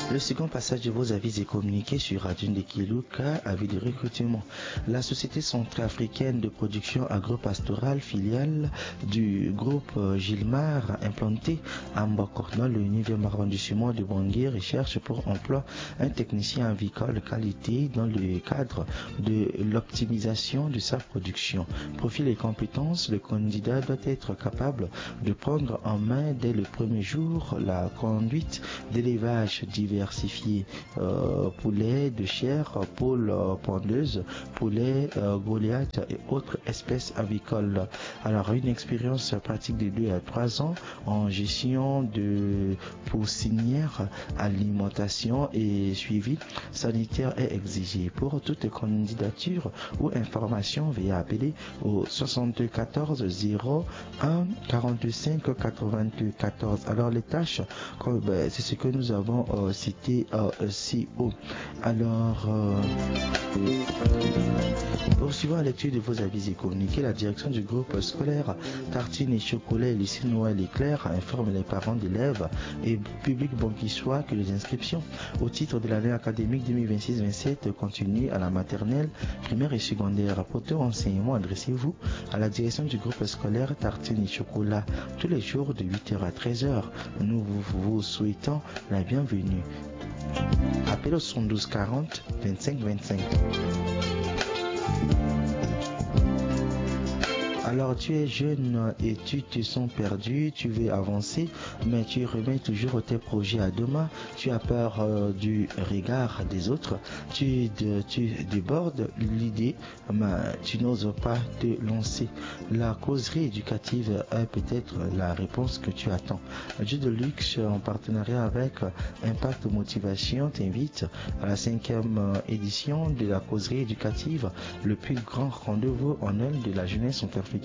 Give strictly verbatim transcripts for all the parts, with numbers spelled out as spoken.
Le second passage de vos avis et communiqués sur Radio Ndeki Luka, avis de recrutement. La société centrafricaine de production agro-pastorale, filiale du groupe, euh, Gilmar, implantée à Mboko, dans le neuvième arrondissement de Bangui, recherche pour emploi un technicien avicole de qualité dans le cadre de l'optimisation de sa production. Profil et compétences, le candidat doit être capable de prendre en main dès le premier jour la conduite d'élevage diversifié, euh, poulet de chair, poule, euh, pondeuse, poulet, euh, Goliath et autres espèces avicoles. Alors, une expérience pratique de deux à trois ans en gestion de poussinière, alimentation et suivi sanitaire est exigé. Pour toute candidature ou information, veuillez appeler au soixante-quatorze zéro un quarante-cinq quatre-vingt-quatorze. Alors, les tâches, comme, ben, c'est ce que nous avons, euh, cité, euh, ci-haut. Alors, euh, poursuivant la lecture de vos avis et communiqués, la direction du groupe scolaire Tartine et Chocolat et lycée Noël Éclair informe les parents d'élèves et public banquissois que les inscriptions au titre de l'année académique deux mille vingt-six vingt-sept continuent à la maternelle, primaire et secondaire. Pour tout renseignement, adressez-vous à la direction du groupe scolaire Tartine et Chocolat tous les jours de huit heures à treize heures. Nous vous, vous souhaitons la bienvenue. Appelez au soixante-douze quarante, vingt-cinq vingt-cinq. Alors, tu es jeune et tu te sens perdu, tu veux avancer, mais tu remets toujours tes projets à demain. Tu as peur, euh, du regard des autres. Tu, de- tu débordes l'idée, mais tu n'oses pas te lancer. La causerie éducative est peut-être la réponse que tu attends. Jeu de Luxe, en partenariat avec Impact Motivation, t'invite à la cinquième, euh, édition de la causerie éducative, le plus grand rendez-vous annuel de la jeunesse centrafricaine,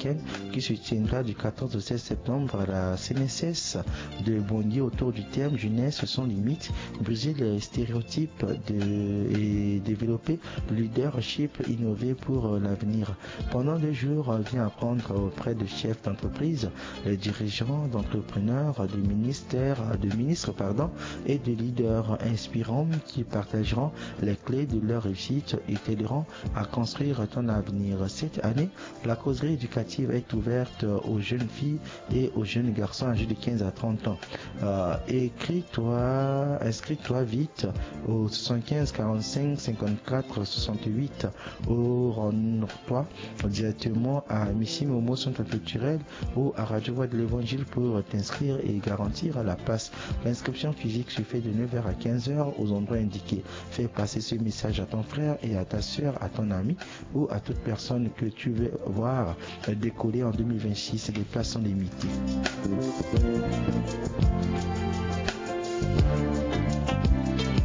qui se tiendra du quatorze au seize septembre à la C N S S de Bangui autour du thème Jeunesse sans limite, briser les stéréotypes de- et développer le leadership innové pour, euh, l'avenir. Pendant deux jours, euh, viens apprendre auprès de chefs d'entreprise, de dirigeants, d'entrepreneurs, de ministères, de ministres, pardon, et de leaders inspirants qui partageront les clés de leur réussite et t'aideront à construire ton avenir. Cette année, la causerie éducative est ouverte aux jeunes filles et aux jeunes garçons âgés de quinze à trente ans. Euh, écris-toi, inscris-toi vite au soixante-quinze quarante-cinq cinquante-quatre soixante-huit ou rends-toi directement à Missy Momo Centre Culturel ou à Radio Voix de l'Évangile pour t'inscrire et garantir la place. L'inscription physique se fait de neuf heures à quinze heures aux endroits indiqués. Fais passer ce message à ton frère et à ta sœur, à ton ami ou à toute personne que tu veux voir décoller en deux mille vingt-six. Les places sont limitées.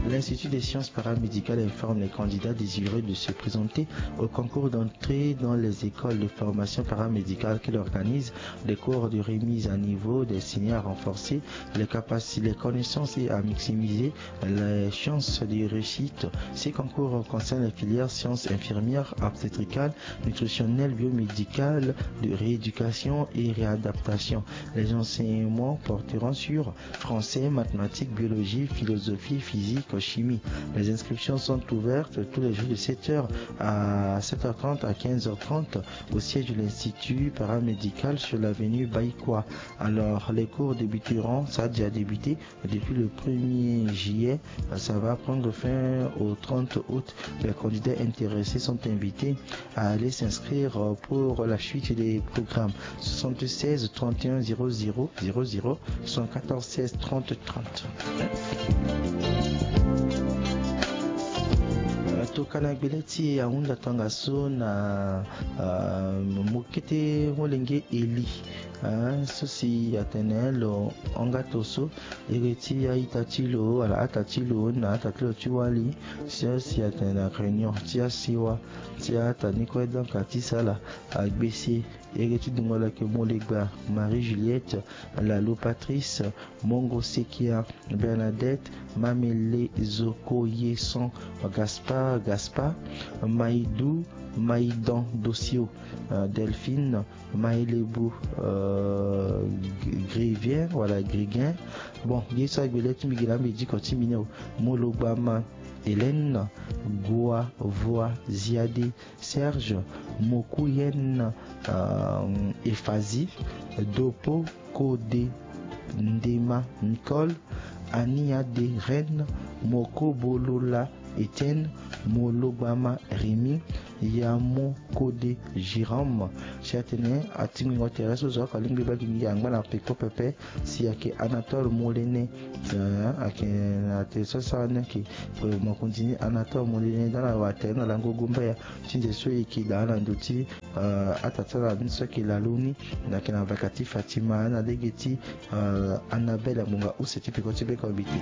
L'Institut des sciences paramédicales informe les candidats désireux de se présenter au concours d'entrée dans les écoles de formation paramédicale qu'il organise des cours de remise à niveau destinés à renforcer les capacités, les connaissances et à maximiser les chances de réussite. Ces concours concernent les filières sciences infirmières, obstétricales, nutritionnelles, biomédicales, de rééducation et réadaptation. Les enseignements porteront sur français, mathématiques, biologie, philosophie, physique, chimie. Les inscriptions sont ouvertes tous les jours de sept heures à sept heures trente à quinze heures trente au siège de l'Institut paramédical sur l'avenue Baïkoua. Alors, les cours débuteront, ça a déjà débuté, depuis le premier juillet. Ça va prendre fin au trente août. Les candidats intéressés sont invités à aller s'inscrire pour la suite des programmes. Soixante-seize trente et un zéro zéro zéro zéro, soixante-quatorze seize trente trente. Tokana gbele ti e ahunda tanga so na, ah, mokete molenge Eli. Ah, so si atene lo hanga to so, ere ti a-ita ti lo wala ata ti lo na ata ti lo ti wali, so si atene na réunion ti asiwa ti ata ni kue, donc ati sala agbese. Ere ti dungo lake molegba Marie Juliette, Lalo Patrice, Mongo Sekia, Bernadette, Mamele Zoko Yeson, Gaspard Gaspard, Maïdou, Maïdan Dossio, euh, Delphine, Maïlebou, euh, Gr- Grivien, voilà, Griguin. Bon, ye so agbe le ti mbi gi na mbi diko ti mbi ni o. Mologbama Hélène, Goa Voa Ziade, Serge, Mokuyen, euh, Effazi, Dopo Kode, Ndema Nicole, Ania de Reine, Moko Bolola Etienne, Mologbama Rémy, Yamo Kode Jérôme. Si atene atingbingo tere so zo oko alingbi baa gi ngia angba na peko pepe. Si ayeke Anatole Molene, euh, ayeke na tere so asara ni ayeke, euh, mokonzi ni Anatole Molene dans la watere na lango gomba ya. Ti nze so e yeke daa na ndo ti, euh, atata na ni so ayeke lalo ni, na yeke na vaka ti Fatima na lege ti, euh, Annabelle, ngbonga use ti peko ti beko mbiti.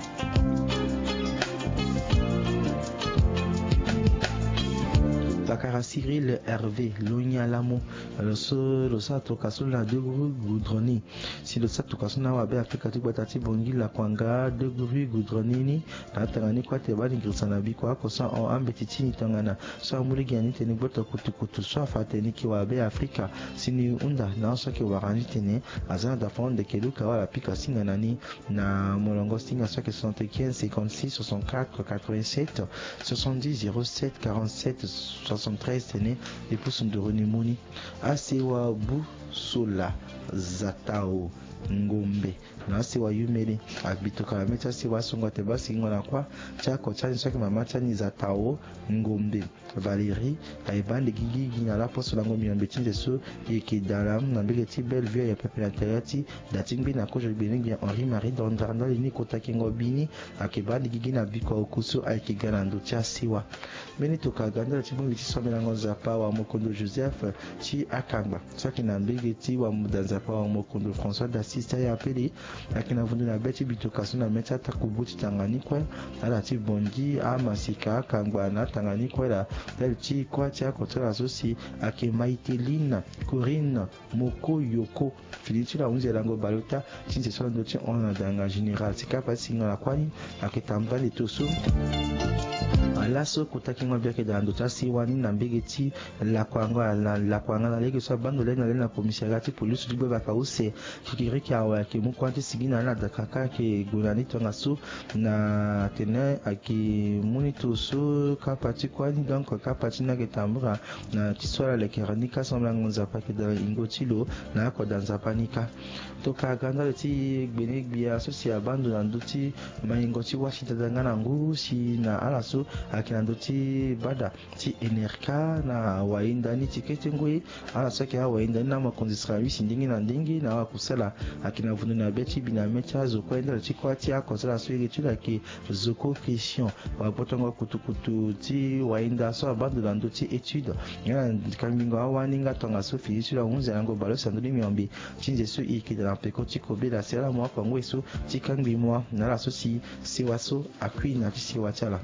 Pakara Cyril Hervé, lo ngia lamo, lo so lo sara tokua so na deux rue Goudron ni. Si lo sara tokua so na awabe Afrika ti gbata ti Bangui, Lakuanga, deux rue Goudron ni ni, na atanga ni kue ate baa ni girisa na biko oko so ahon ambeti ti ni tongana so amu lege na ni tene gboto kutukutu so afa atene ni yeke wabe Afrika. Si ni hunda na ahon so ayeke wara ni tene aza na dafa hon ndeke luka wala pika singa na ni na molongo singa so ayeke soixante-quinze cinquante-six soixante-quatre quatre-vingt-sept, soixante-dix zéro sept quarante-sept soixante-treize tene e pusu nduru ni mu ni. Asewa Busola Zatao Ngombe, na asewa Yumele, agbi tokua na mê ti asewa asongo ate baa sigingo na kuâ ti oko ti ani so ayeke mama ti ani Zatao Ngombe Valérie, aye baa ndigi gi gi na laposo lango miombe ti nze so e yeke daa na mbege ti Bellevue, aye pepe na tere ti da ti ngbi na kozo gbene gbia Henri Marie Dandar ndali ni kota kengo bi ni, ayeke baa ndigi gi na biko oko so ayeke ga na ndo ti asewa. Mbeni tokua aga ndali ti bongbi ti sambelango Nzapa Wamokondo Joseph ti akangba so ayeke na mbege ti wamuda Nzapa Wamokondo François d'Assise ti Ayapele, ayeke na vundu na be ti bitoka so na mê ti atakubu ti tanga ni kue, ala ti bongi amasika akangba na atanga ni kue laa. Ndali ti kuâ ti oko ti ala so si ayeke Maïteline Corinne Moko Yoko, fini ti lo ahunzi lango baleota ti nze so na ndö ti hon na danga général ti kapa ti singo na kuâ ni. Ayeke tambula ande ti lo so. Laso kota kengo bi ayeke daa na ndo ti asewa ni na mbege ti Lakuanga na Lakuanga na lege so abaa ndo lani na lani na commissariat ti police ti gbe baka use. Kikiriki awe ayeke mu kuâ ti sigi na ala na dakaka ayeke gue na ni tongaso na tene ayeke mu ni to so kapa ti kuâ ni. Donc kapa ti ni ayeke tambula na ti so ala lekere ni kâ, sambelango Nzapa ayeke daa na ingo ti lo na oko daa Nzapa ni kâ. Tokua aga ndali ti gbene gbia so si abaa ndo na ndö ti maingo ti wâ si dada nga na ngu si na ala so ayeke na ndö ti bada ti Enerca na wayinda ni ti kete ngoi. Ala so ayeke awayinda ni na amokonzi sara wisi ndenge na ndenge na awakusala ayeke na vundu na be ti bi na mê ti azo kue ndali ti kuâ ti oko ti ala so iri ti lo ayeke Zoko Christian. Wabotongo kutukutu ti wayinda so abaa ndo na ndö ti étude nga na kangbingo awani nga tongaso fini ti lo ahunzi lango baleuse na ndö ni miombe ti nze so e yeke daa na peko ti kobela si ala mu oko ngoi so ti kangbi mua na ala so si sewa so akui na ti sewa ti ala.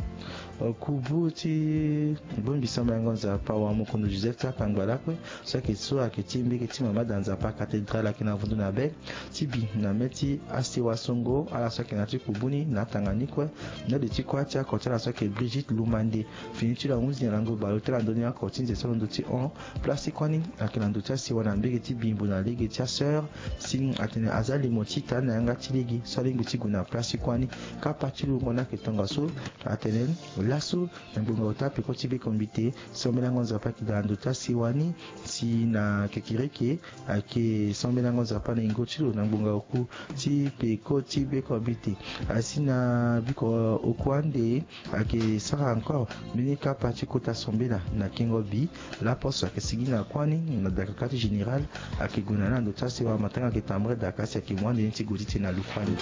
Kubu ti bongbi sambelango Nzapa Wamokondo Joseph ti akangba lakue so ayeke so ayeke ti mbege ti mama da Nzapa cathédrale ayeke na vundu na be ti bi na mê ti asewa songo ala so ayeke na ti kubu ni na atanga ni kue. Ndali ti kuâ ti oko ti ala so ayeke Brigitte Lumande, fini ti lo ahunzi na lango baleota na ndö ni oko ti nze so na ndö ti hon. Place ti kuâ ni ayeke na ndö ti asewa na mbege ti Bimbo na lege ti asœur. Si atene aza limo ti ita ni na yanga ti lege so alingbi ti gue na place ti kuâ ni. Kapa ti lungo ni ayeke tongaso. Atene laso na ngbonga ota peko ti beko mbite, sambelango Nzapa ayeke daa na ndo ti asewa ni. Si na kekereke ayeke sambelango Nzapa na ingo ti lo na ngbonga oku ti peko ti beko mbite. Asi na biko oku ande ayeke sara encore mbeni kapa ti kota sambela na kengo bi. Laposo ayeke sigi na kuâ ni na dakaka ti général ayeke gue na ni na ndo ti asewa matanga ayeke tambula daka si ayeke mu ande ni ti gue ti tene na lukuani.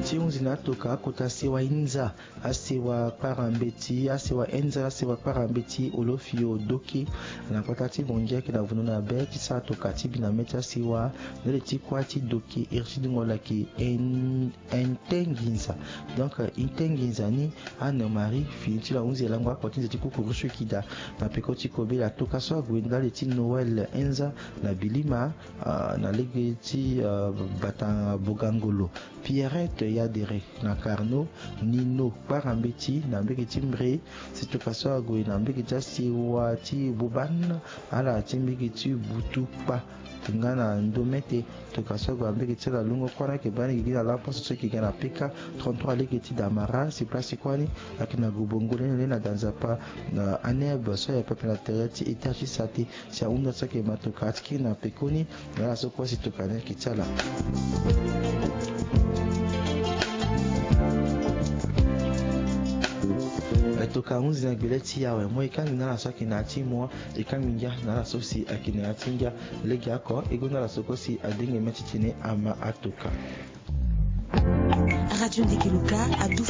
Ti hunzi na atoka akota sewa inza, asewa kpara mbeti, asewa inza, asewa kpara mbeti, Olofio Doke na kota ti Bongi ayeke na vundu na be ti sara toka ti bi na mê ti asewa ndali ti kuâ ti doke iri ti dungo laki en- Ntenginza. Donc Ntenginza ni, Anne Marie fini ti lo ahunzi lango oko ti nze ti kukuru so e yeke daa na peko ti kobela toka so ague ndali ti Noël Enza na Bilima, ah, na lege ti, ah, bata Bogangolo. Pierrette Yadere na Carnot, Nino kpara mbeti na mbege ti Mbre. Si toka so ague na mbege ti asiwa ti Boban, ala ti mbege ti Butu kpa nga na ndo mete. Toka so ague na mbege ti ala lungo kuâ ni ayeke baa ni gigi na laposo so ayeke ga na P K trente-trois lege ti Damara. Si place ti kuâ ni ayeke na gu bongo lene lene na danzapa na Aneb so ayeke pepe na tere ti étage ti sate. Si ahunda so ayeke ma toka ti kiri na pekoni. Nga ala so kue si toka ni ayeke ti ala. E toka hunzi na gbele ti e awe mo e kangbi na ala so ayeke na ya ti mo. E kangbi ngia na ala so si ayeke na ya ti ngia. Lege oko e gonda ala so kue si adenge mê ti tene ama atoka. Radio Ndeke Luka adufa